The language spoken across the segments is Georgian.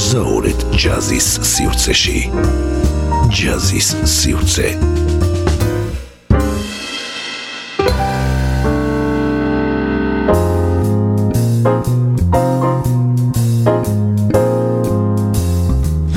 მოგზაურეთ ჯაზის სივრცეში. ჯაზის სივრცე.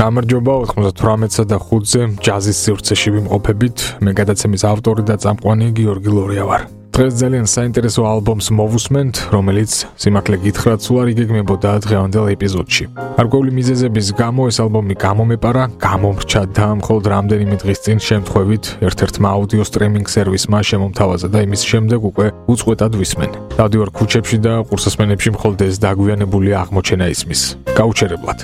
გამარჯობა 98-სა და 5-ზე ჯაზის სივრცეში ვიმყოფებით. მე გადაცემის ავტორი და წამყვანი გიორგი ლორია ვარ. დღეს ძალიან საინტერესო ალბომს მოვუსმენთ, რომელიც სიმართლე გითხრათ სულ არ იგეგმებოდა დღევანდელ ეპიზოდში. გარკვეული მიზეზების გამო ეს ალბომი გამომეპარა, გამომრჩა და მხოლოდ რამდენიმე დღის წინ შემთხვევით ერთ-ერთმა აუდიო სტრიმინგ სერვისმა შემომთავაზა და იმის შემდეგ უკვე უწყვეტად ვისმენ. დავდივარ ქუჩებში და ყურსასმენებში მხოლოდ ეს დაგვიანებული აღმოჩენა ისმის. გაუჩერებლად.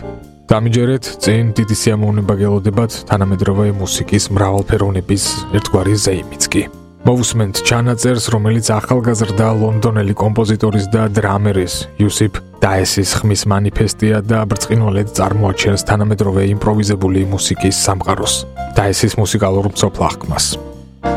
დამიჯერეთ, წინ დიდი სიამოვნება გელოდებათ თანამედროვე მუსიკის მრავალფეროვნების ერთგვარი ზეიმიც კი. მოვუსმენთ ჩანაწერს, რომელიც ახალგაზრდა ლონდონელი კომპოზიტორის და დრამერის იუსიფ დაესის ხმის მანიფესტია და ბრწყინვალედ წარმოაჩენს თანამედროვე იმპროვიზებული მუსიკის სამყაროს, დაესის მუსიკალურ მცოფლახკმას.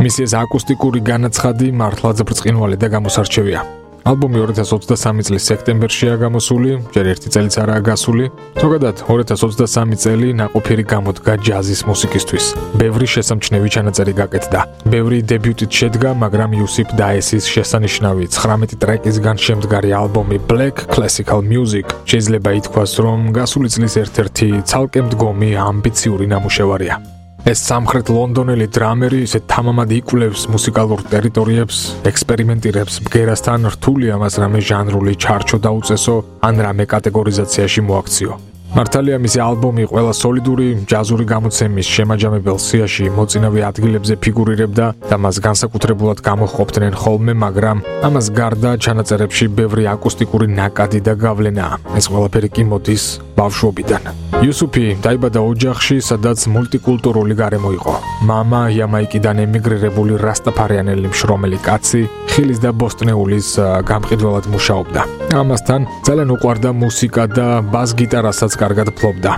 მისი ეს აკუსტიკური განაცხადი მართლაც ბრწყინვალე და გამოსარჩევია. ალბომი 2023 წლის სექტემბერშია გამოსული, ჯერ ერთი წელიც არაა გასული. ზოგადად 2023 წელი ნაყოფიერი გამოდგა ჯაზის მუსიკისთვის. ბევრი შესამჩნევი ჩანაწერი გაკეთდა. ბევრი დებიუტით შედგა, მაგრამ იუსიფ დაესის შესანიშნავი 19 ტრეკისგან შემდგარი ალბომი Black Classical Music შეიძლება ითქვას, რომ გასული წლის ერთ-ერთი ცალკე მდგომი ამბიციური ნამუშევარია. ეს სამხრეთ ლონდონელი დრამერი ისე თამამად იკვლევს მუსიკალურ ტერიტორიებს, ექსპერიმენტირებს ბგერასთან, რთული ამას რამე ჟანრული ჩარჩო დაუწესო, ან რამე კატეგორიზაციაში მოაქციო. მართალია მისი ალბომი ყველა სოლიდური ჯაზური გამოცემის შემაჯამებელ სიაში მოწინავე ადგილებზე ფიგურირებდა და მას განსაკუთრებულად გამოჰყოფდნენ ხოლმე, მაგრამ ამას გარდა ჩანაწერებში ბევრი აკუსტიკური ნაკადი და გავლენაა. ეს ყველაფერი კი მოდის ბავშვობიდან. იუსუფი დაიბადა ოჯახში, სადაც მულტიკულტურული გარემო იყო. მამა იამაიკიდან ემიგრირებული რასტაფარიანელი მშრომელი კაცი, ხილის და ბოსტნეულის გამყიდველად მუშაობდა. ამასთან ძალიან უყვარდა მუსიკა და ბას-გიტარასაც კარგად ფლობდა.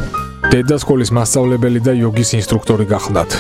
დედა სკოლის მასწავლებელი და იოგის ინსტრუქტორი გახლდათ.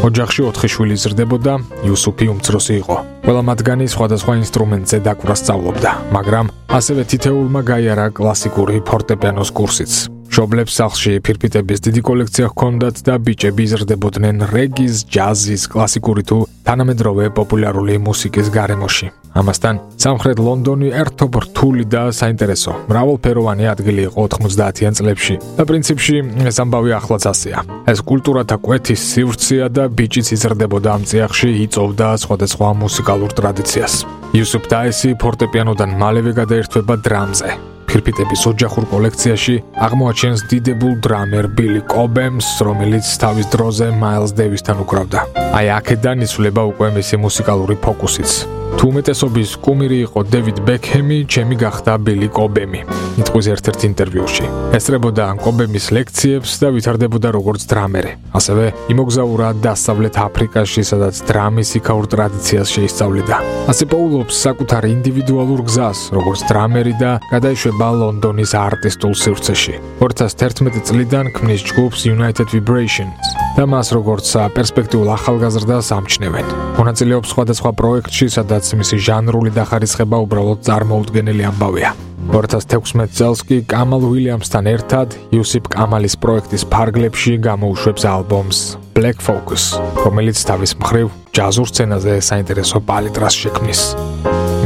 ოჯახში 4 შვილი ზრდებოდა, იუსუფი უმცროსი იყო. ყველა მათგანი სხვადასხვა ინსტრუმენტზე დაკვრა სწავლობდა, მაგრამ ასევე თითეულმა გაიარა კლასიკური ფორტეპიანოს კურსიც. მშობლებს სახლში ფირფიტების დიდი კოლექცია ჰქონდათ და ბიჭები იზრდებოდნენ რეგის, ჯაზის, კლასიკური თუ თანამედროვე პოპულარული მუსიკის გარემოში. ამასთან სამხრეთ ლონდონი ერთობ რთული და საინტერესო, მრავალფეროვანი ადგილი იყო 90-იან წლებში და პრინციპში ეს ამბავი ახლაც ასეა. ეს კულტურათა კვეთის სივრცეა და ბიჭიც იზრდებოდა ამ წიაღში, იწოვდა სხვადასხვა მუსიკალურ ტრადიციას. იუსიფ დაესი ფორტეპიანოდან მალევე გადაერთვება დრამზე. ფირფიტების ოჯახურ კოლექციაში აღმოაჩენს დიდებულ დრამერ ბილი კობემს, რომელიც თავის დროზე მაილს დევისთან უკრავდა. აი აქედან იცვლება უკვე მისი მუსიკალური ფოკუსიც. თუ უმეტესობის კუმირი იყო დევიდ ბექჰემი, ჩემი გახდა ბილი კობემი. იტყვის ერთ-ერთ ინტერვიუში. ესწრებოდა კობემის ლექციებს და ვითარდებოდა როგორც დრამერი. ასევე იმოგზაურა დასავლეთ აფრიკაში, სადაც დრამის იქაურ ტრადიციას შეისწავლიდა. ასე პოულობს საკუთარ ინდივიდუალურ გზას, როგორც დრამერი და გადაიშვება ლონდონის არტისტულ სივრცეში. 2011 წლიდან ქმნის ჯგუფს United Vibrations და მას როგორც პერსპექტიულ ახალგაზრდას ამჩნევენ. მონაწილეობს სხვადასხვა პროექტში, სადაც მისი ჟანრული დახარისხება უბრალოდ წარმოუდგენელი ამბავია. 2016 წელს კი კამალ უილიამსთან ერთად იუსიფ კამალის პროექტის ფარგლებში გამოუშვებს ალბომს Black Focus, რომელიც თავის მხრივ ჯაზურ სცენაზე საინტერესო პალიტრას შექმნის.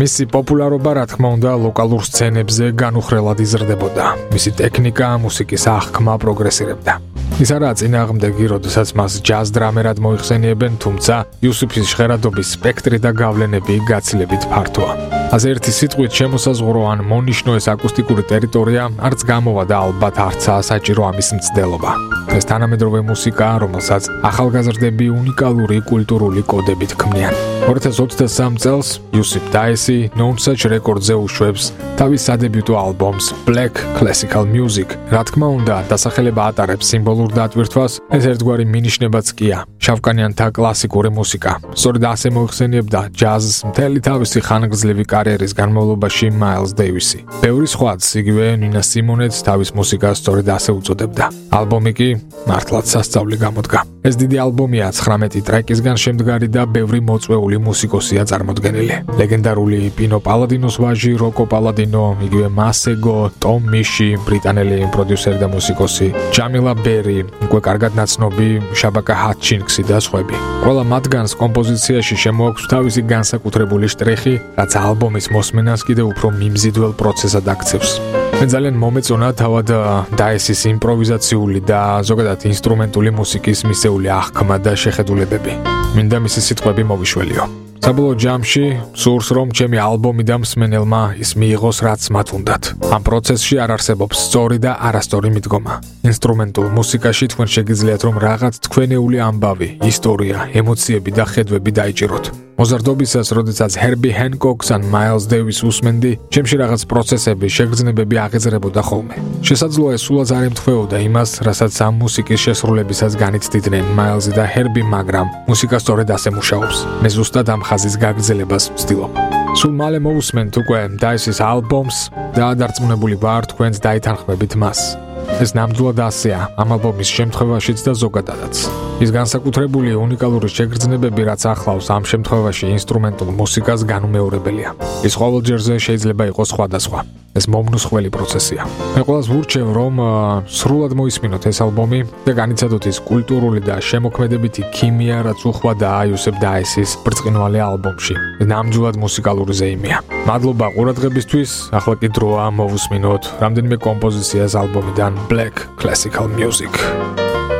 მისი პოპულარობა, რა თქმა უნდა, ლოკალურ სცენებზე განუხრელად იზრდებოდა. მისი ტექნიკა, მუსიკის აღქმა პროგრესირებდა. ის არაა წინააღმდეგი, როდესაც მას ჯაზ დრამერად მოიხსენიებენ, თუმცა იუსიფის ჟღერადობის სპექტრი და გავლენები გაცილებით ფართოა. ასე ერთი სიტყვით შემოსაზღვრო ან მონიშნო ეს აკუსტიკური ტერიტორია არც გამოვა და ალბათ არცაა საჭირო ამის მცდელობა. ეს თანამედროვე მუსიკაა, რომელსაც ახალგაზრდები უნიკალური კულტურული კოდებით ქმნიან. 2023 წელს იუსიფ დაესი Known Such Records-ზე უშვებს თავის სადებიუტო ალბომს Black Classical Music. რა თქმა უნდა, დასახელება ატარებს სიმბოლურ დატვირთვას, ეს ერთგვარი მინიშნებაც კია. შავკანიანთა კლასიკური მუსიკა. სწორედ ასე მოიხსენიებდა ჯაზს მთელი თავისი ხანგრძლივი კარიერის განმავლობაში მაილს დევისი. ბევრი სხვაც, იგივე ნინა სიმონეც თავის მუსიკას სწორედ ასე უწოდებდა. ალბომი კი მართლაც სასწაული გამოდგა. ეს დიდი ალბომია 19 ტრეკისგან შემდგარი და ბევრი მოწვეული მუსიკოსია წარმოდგენილი. ლეგენდარული პინო პალადინოს ვაჟი როკო პალადინო, იგივე მასეგო, ტომ მიში, ბრიტანელი პროდიუსერი და მუსიკოსი, ჯამილა ბერი, უკვე კარგად ნაცნობი შაბაკა ჰატჩინგსი და სხვები. ყველა მათგანს კომპოზიციაში შემოაქვს თავისი განსაკუთრებული შტრიხი, რაც ალბომის მოსმენას კიდევ უფრო მიმზიდველ პროცესად აქცევს. მე ძალიან მომეწონა თავად დაესის იმპროვიზაციული და ზოგადად ინსტრუმენტული მუსიკის მისეული აღქმა და შეხედულებები. მინდა მისი სიტყვები მოვიშველიო. საბოლოო ჯამში სურს რომ ჩემი ალბომი და მსმენელმა ის მიიღოს რაც მათ უნდათ. ამ პროცესში არ არსებობს სწორი და არასწორი მიდგომა. ინსტრუმენტულ მუსიკაში თქვენ შეგიძლიათ რომ რაღაც თქვენეული ამბავი, ისტორია, ემოციები და ხედვები დაიჭიროთ. მოზარდობისას, როდესაც ჰერბი ჰენკოკს ან მაილს დეივის უსმენდი, ჩემში რაღაც პროცესები, შეგრძნებები აღეძრებოდა ხოლმე. შესაძლოა ეს სულაც არ ემთხვეოდა იმას, რასაც ამ მუსიკის შესრულებისას განიცდიდნენ მაილზი და ჰერბი, მაგრამ მუსიკა სწორედ ასე მუშაობს. მე ზუსტად ამ ხაზის გაგრძელებას ვცდილობ. სულ მალე მოვუსმენთ უკვე დაესის ალბომს და დარწმუნებული ვარ თქვენც დაითანხმებით მას. ეს ნამდვილად ასეა ამ ალბომის შემთხვევაშიც და ზოგადადაც. ის განსაკუთრებული უნიკალური შეგრძნებები, რაც ახლავს ამ შემთხვევაში ინსტრუმენტულ მუსიკას, განუმეორებელია. ის ყოველჯერზე შეიძლება იყოს სხვადასხვა. ეს მომნუსხველი პროცესია. მე ყველას ვურჩევ, რომ სრულად მოისმინოთ ეს ალბომი და განიცადოთ ის კულტურული და შემოქმედებითი ქიმია, რაც უხვად აიუსებ დაესის ბრწყინვალე ალბომში. ნამდვილად მუსიკალური ზეიმია. მადლობა ყურადღებისთვის. ახლა კი დროა მოვუსმინოთ რამდენიმე კომპოზიციას ალბომიდან Black Classical Music.